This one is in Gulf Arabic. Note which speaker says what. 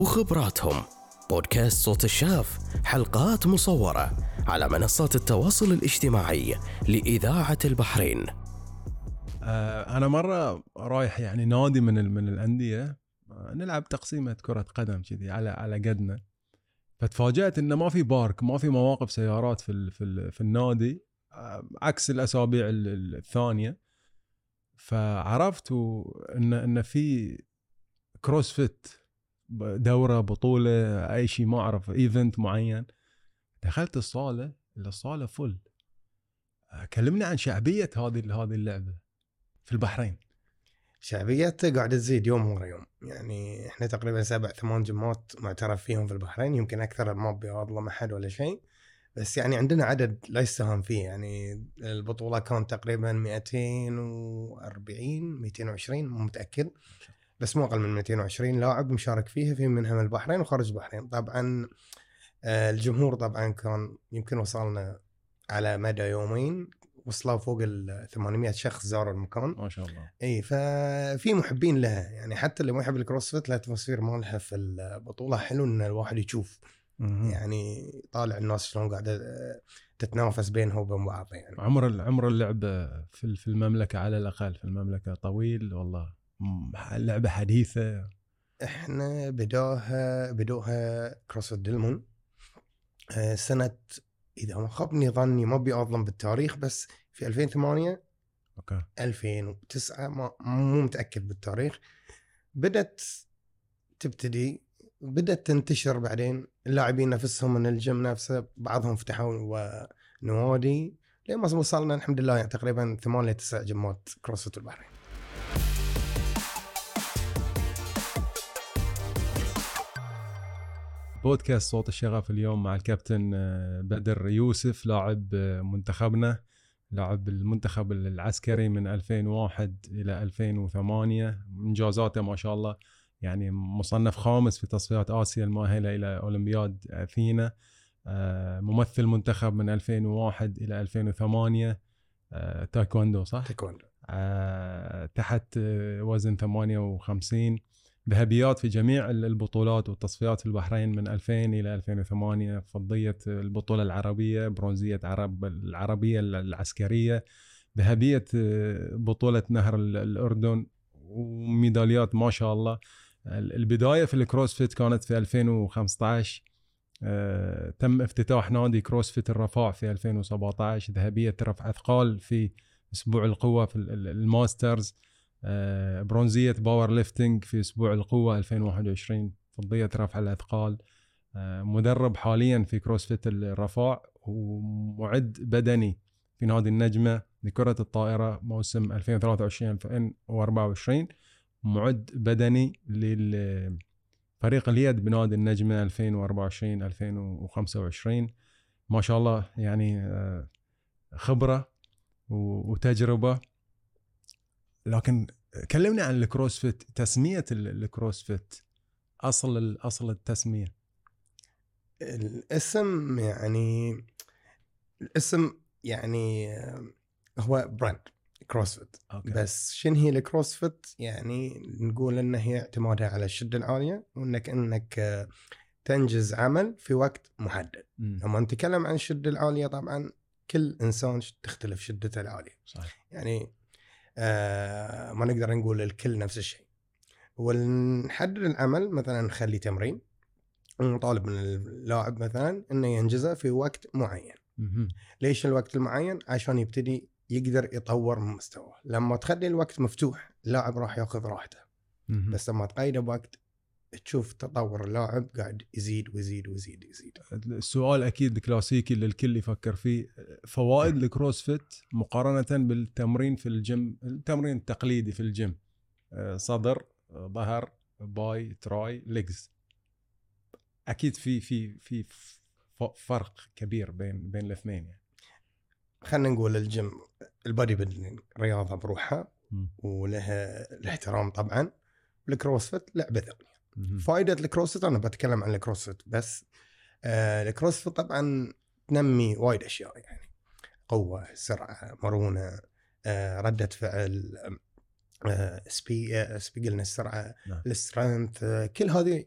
Speaker 1: وخبراتهم. بودكاست صوت الشغف، حلقات مصورة على منصات التواصل الاجتماعي لإذاعة البحرين.
Speaker 2: أنا مرة رايح يعني نادي من الأندية، نلعب تقسيمة كرة قدم كذي على قدنا، فتفاجأت إنه ما في بارك، ما في مواقف سيارات في النادي عكس الأسابيع الثانية. فعرفت إن في كروسفيت، دورة، بطولة، أي شيء ما أعرف، إيفنت معين. دخلت الصالة فل. كلمنا عن شعبية هذه اللعبة في البحرين.
Speaker 3: شعبيته قاعدة تزيد يوم ورا يوم، يعني احنا تقريبا 7-8 جمات معترف فيهم في البحرين، يمكن أكثر ما بيظلم أحد ولا شيء، بس يعني عندنا عدد لا يستهان فيه. يعني البطولة كانت تقريبا 220 مو متأكد، بس مو أقل من 220 لاعب مشارك فيها، في منها من البحرين وخارج البحرين. طبعا الجمهور طبعا كان يمكن وصلنا على مدى يومين وصلوا فوق 800 شخص زاروا المكان
Speaker 2: ما شاء الله.
Speaker 3: اي، ففي محبين لها، يعني حتى اللي ما يحب الكروسفيت الاتموسفير مالها في البطولة حلو ان الواحد يشوف، يعني طالع الناس شلون قاعدة تتنافس بينها وبين بعض. يعني
Speaker 2: عمر اللعبة في المملكة، على الأقل في المملكة طويل والله، اللعبة حديثة.
Speaker 3: احنا بدوها كروسفيت دلمون سنة، إذا ما خابني ظني ما بيأظلم بالتاريخ، بس في 2008
Speaker 2: أوكي
Speaker 3: 2009 مو متأكد بالتاريخ. بدأت تنتشر، بعدين اللاعبين نفسهم من الجيم نفسه بعضهم فتحوا نوادي، لين ما وصلنا الحمد لله يعني تقريبا 8-9 جمات كروسفيت البحرين.
Speaker 2: بودكاست صوت الشغف اليوم مع الكابتن بدر يوسف، لاعب منتخبنا، لاعب المنتخب العسكري من 2001 إلى 2008. إنجازاته ما شاء الله، يعني مصنف خامس في تصفيات آسيا المؤهلة إلى أولمبياد أثينا. ممثل منتخب من 2001 إلى 2008. تايكوندو صح؟
Speaker 3: تايكوندو.
Speaker 2: تحت وزن 58. ذهبيات في جميع البطولات والتصفيات في البحرين من 2000 إلى 2008. فضية البطولة العربية، برونزية العربية العسكرية، ذهبية بطولة نهر الأردن، وميداليات ما شاء الله. البداية في الكروسفيت كانت في 2015. تم افتتاح نادي كروسفيت الرفاع في 2017. ذهبية رفع أثقال في أسبوع القوة في الماسترز. برونزية باور ليفتنج في أسبوع القوة 2021. فضية رفع الأثقال. مدرب حاليا في كروسفيت الرفاع، ومعد بدني في نادي النجمة لكرة الطائرة موسم 2023-2024. معد بدني لفريق اليد بنادي النجمة 2024-2025. ما شاء الله، يعني خبرة وتجربة. لكن كلمني عن الكروسفيت، تسمية الكروسفيت، أصل التسمية.
Speaker 3: الاسم يعني هو براند كروسفيت. بس شنو هي الكروسفيت؟ يعني نقول انه هي اعتمادها على الشدة العالية، وانك تنجز عمل في وقت محدد. لما نتكلم عن الشدة العالية طبعا كل انسان تختلف شدته العالية،
Speaker 2: صحيح.
Speaker 3: يعني ما نقدر نقول الكل نفس الشيء. ونحدد العمل، مثلا نخلي تمرين ونطالب من اللاعب مثلا انه ينجزه في وقت معين. ليش الوقت المعين؟ عشان يبتدي يقدر يطور من مستواه. لما تخلي الوقت مفتوح اللاعب راح ياخذ راحته، بس لما تقيده بوقت تشوف تطور اللاعب قاعد يزيد ويزيد ويزيد يزيد.
Speaker 2: السؤال اكيد كلاسيكي اللي الكل يفكر فيه، فوائد الكروسفيت مقارنة بالتمرين في الجيم، التمرين التقليدي في الجيم، صدر، ظهر، باي، تراي، ليجز. اكيد في فرق كبير بين الاثنين. يعني
Speaker 3: خلينا نقول الجيم البادي بيلدينج رياضة بروحها ولها الاحترام طبعا. الكروسفيت لعبة ثانية. فائدة الكروسفيت، أنا بتكلم عن الكروسفيت بس. الكروسفيت طبعا تنمي وايد أشياء، يعني قوة، سرعة، مرونة، ردة فعل، قلنا السرعة، السترينث، كل هذه